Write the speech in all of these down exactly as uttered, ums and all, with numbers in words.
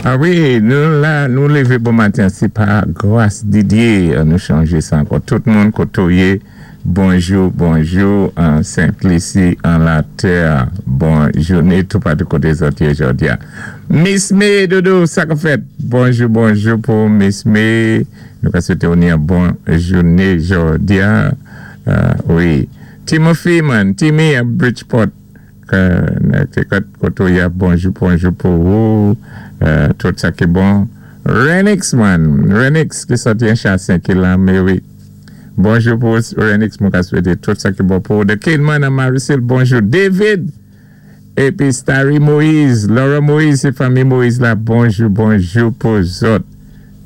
A wi, nou la, nou lévé bon maten, sé pa gras Didier, nou chanjé sa ankò. Tout moun koté ou yé, bonjou, bonjou, an Sent-Lisi, an latè, bon jouné, tout patou koté zòt yé jòdi-a. Miss May, Dodo, sa ka fèt? Bonjou, bonjou pou Miss May. Nou ka swété ou ni an bon jouné jòdi-a. Euh, wi. Timothy, man, Timmy à Bridgeport, koté ou yé, bonjou, bonjou pou ou. Euh, tout sa ki bon. Renix, man, Renix ki sòti an Chassin, ki la, mé wi. Bonjou pou Renix, mwen ka swété tout sa ki bon pou ou. The Kid Man an Maricel, bonjou. David, épi Starry Moïse, Laura Moïse, sé fanmi Moïse la, bonjou, bonjou pou zòt.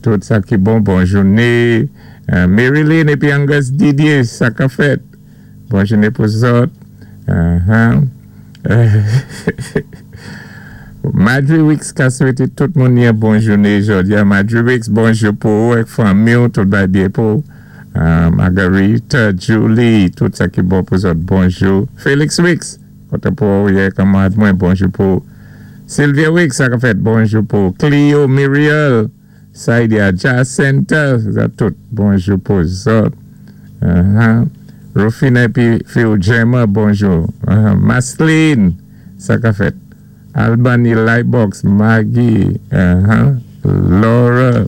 Tout sa ki bon, bon jouné. Euh, Marilyn épi Angus Didier, sa ka fèt. Bon jouné pou zòt. Uh-huh. Madry Wicks ka swété tout moun yon bon jouné jòdi-a. Madry Wicks, bonjou pou ou ak fanmi ou, tout bay byen pou ou. Uh, Margarita, Julie, tout sa ki bon pou zòt, bonjou. Felix Wicks, koté pou ou yé kanmad mwen, bonjou pou ou. Sylvia Wicks, sa ka fèt, bonjou pou ou. Cleo, Muriel, Saidia, Jacinta, sa tout, bonjou pou zòt. Uh-huh. Rufina épi Phil Gemma, bonjou. Uh-huh. Masline, sa ka fèt. Albany Lightbox, Maggie, uh-huh. Laura,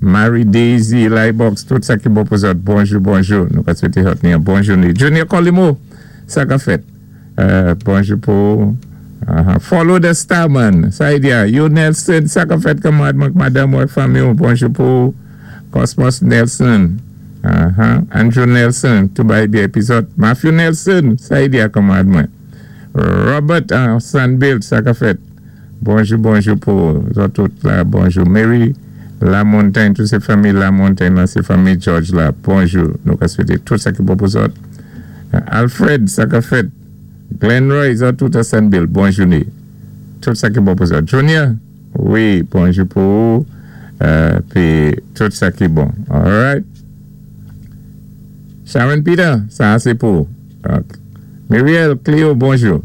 Mary Daisy Lightbox, tout sa ki bon pou zòt, bonjou, bonjou. Nou ka swété zòt ni an bon jouné. Junior Colimo, sa ka fèt. Euh, bonjou pou uh-huh. Follow the Star Man, sa y diya. Yo Nelson, sa ka fèt kanmad mwen madam ou fanmi ou, bonjou pou Cosmos Nelson. Uh-huh. Andrew Nelson, tout bay byen épi zòt. Matthew Nelson, sa y diya kanmad mwen. Robert uh, Sandbill, sa ka fèt. Bonjou, bonjou pou zòt tout la, bonjou. Mary La Montagne, tout sé fanmi La Montagne la, sé fanmi George la, bonjou. Nou ka swété tout sa ki bon pou zòt. Alfred, sa ka fèt. Glenroy, zòt tout a Sandbill, bon jouné. Tout sa ki bon pou zòt. Junior, wi, bonjou pou ou. Euh, pi tout sa ki bon. Alright. Sharon Peter, sa sé pou. Ok. Muriel Cleo, bonjou.